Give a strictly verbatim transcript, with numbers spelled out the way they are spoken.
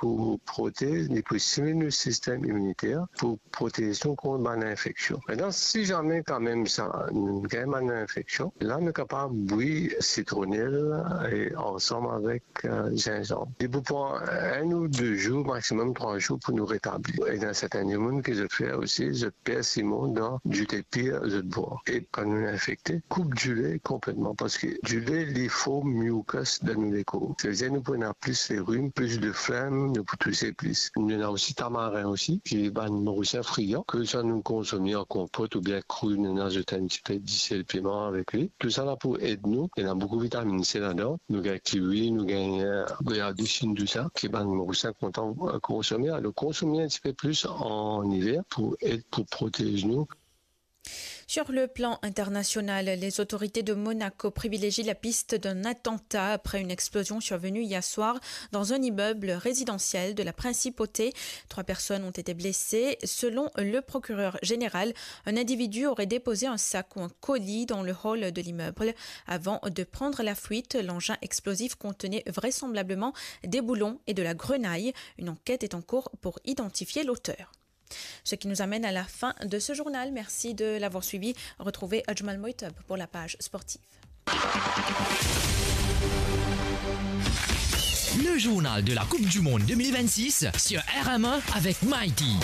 pou protez, li pou stimil nou sistem iminiter, pou protez nou kont bann infeksion. Aster, si zame kanmem sa, nou gagn bann infeksion, la nou kapav bwi sitronel e ansam avek, eh, zinzanm. Li pou pran enn ou de zour, maximum trwa zour pou nou retabli. E dan sertin dimoun ki zot fer osi, zot pers li mont dan dilo pir zot bwar. E kan nou infekte, koup dilo konpletman, parski dilo li form mucus dan nou lekor. Savedir nou pou ena plis lerim, plis de flem, nou pou touse plis. Nou ena osi tamarin osi, ki bann morisien friyan, ke sa nou konsome an konpot oubien kri, nou azout enn tipe disel, piman avek li. Tousala pou ed nou, ena boukou vitaminn C ladan. Nou gagn kiwi, nou gagn, eh, goyavdisinn, tousa, ki bann Morisien kontan, eh, konsome. Alor, konsome enn tipe plis an iver pou ed, pou protez nou. Sur le plan international, les autorités de Monaco privilégient la piste d'un attentat après une explosion survenue hier soir dans un immeuble résidentiel de la principauté. Trois personnes ont été blessées. Selon le procureur général, un individu aurait déposé un sac ou un colis dans le hall de l'immeuble avant de prendre la fuite. L'engin explosif contenait vraisemblablement des boulons et de la grenaille. Une enquête est en cours pour identifier l'auteur. Ce qui nous amène à la fin de ce journal. Merci de l'avoir suivi. Retrouvez Ajmal Moitab pour la page sportive. Le journal de la Coupe du Monde deux mille vingt-six sur R M E avec Mighty.